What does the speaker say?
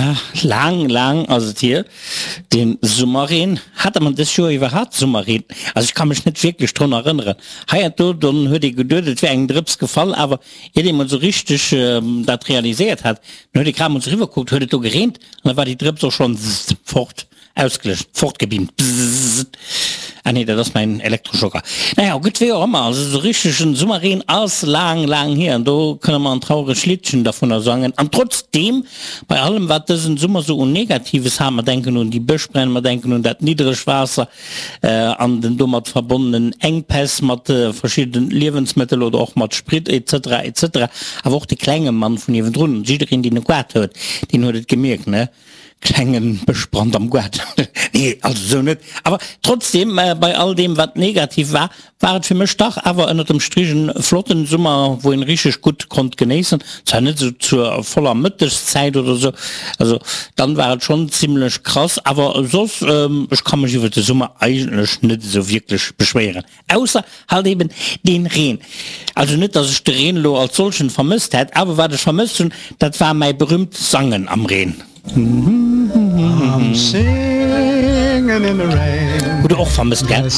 Ja, laang, laang ass et hier, dee Summerreen. Hate mer dës Joer iwwerhaapt Summerreen? Also ech ka mech net wierklech drun erënneren. Hei an do, dann huet ee geduet, et wär eng Drëps gefall, awer iert ee mol sou richteg dat realiséiert hat, dann huet ee grad mol sou eriwwer kuckt, huet et do gereent an da war déi Drëps och schonn fort. Ausgelécht, fortgebeamt, bzzzt. Ah nee, dat ass mäin Elektroschocker. Naja, gutt, wéi och ëmmer, also esou richtegen Summerreen ass laang, laang hier an do kënne mer en trauregt Liddchen dervunner sangen. An trotzdeem, bei allem wat dësen Summer sou un Negatives hat, mer denken un déi Bëschbränn, mer denken un dat Niddregwaasser an den domat verbonnenen Enkpäss mat verschiddenen Liewensmëttel oder och mat Sprit etc. Etc. Awer och de klenge Mann vun niewendrun, jiddereen deen e Goart huet, deen huet et gemierkt, ne? Klengen Bëschbrand am Goart. Nee, also esou net. Awer trotzdem, bei all deem wat negativ war, war et fir mech dach awer ënnert dem Strich en flotten Summer, wou een richteg gutt konnt genéissen. Zwar net esou zur voller Mëttegszäit oder esou, also dann war et schonn zimlech krass, awer soss, ech ka mech iwwert de Summer eigentlech net esou wierklech beschwéieren. Ausser halt eben deen Reen. Also net dass ech de Reen elo als solchen vermësst hätt, awer wat ech vermësst hunn, dat war mäi berühmt Sangen am Reen. Hutt der och vermësst, gell?